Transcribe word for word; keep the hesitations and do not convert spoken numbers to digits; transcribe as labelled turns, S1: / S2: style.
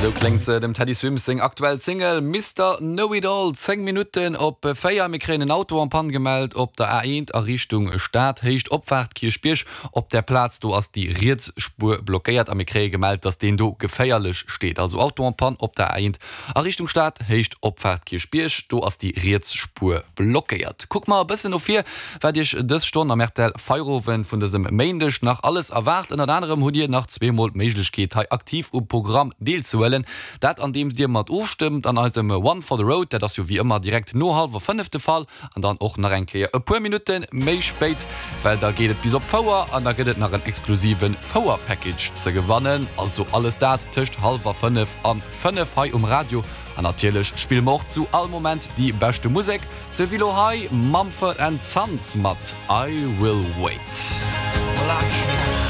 S1: Sou kléngt se, dem Teddy Swims seng aktuell Single Mister Know It All. Zéng Minutten op véier. Mir kréien en Auto en panne gemellt op der A eent a Richtung Stad, Héicht Opfaart Kierchbierg. Op där Plaz do ass déi riets Spuer blockéiert a mir kréie gemellt, dass deen do geféierlech steet. Also Auto en panne op der A eent a Richtung Stad, Héicht Opfaart Kierchbierg, do ass déi riets Spuer blockéiert. Kucke mer e bëssen no vir, wat iech dës Stonn am R T L Feierowend vun dësem Méindeg nach alles erwaart. Ënnert anerem hutt dir nach zweemol d'Méiglechkeet, hei aktiv um Programm deelzehuelen. Dat andeems dir mat ofstëmmt an eisem One for the Road, dat ass jo wéi ëmmer direkt no hallwer fënnef de Fall an dann och nach eng Kéier e puer Minutte méi spéit, well da geet et bis op Fouer an da gëtt et nach en exklusive Fouer-Package ze gewannen. Also alles dat tëscht hallwer fënnef an fënnef hei um Radio. An natierlech spille mer och zu all Moment déi beschte Musek, sou wéi lo hei Mumford and Sons mat I Will Wait.
S2: Well, I can't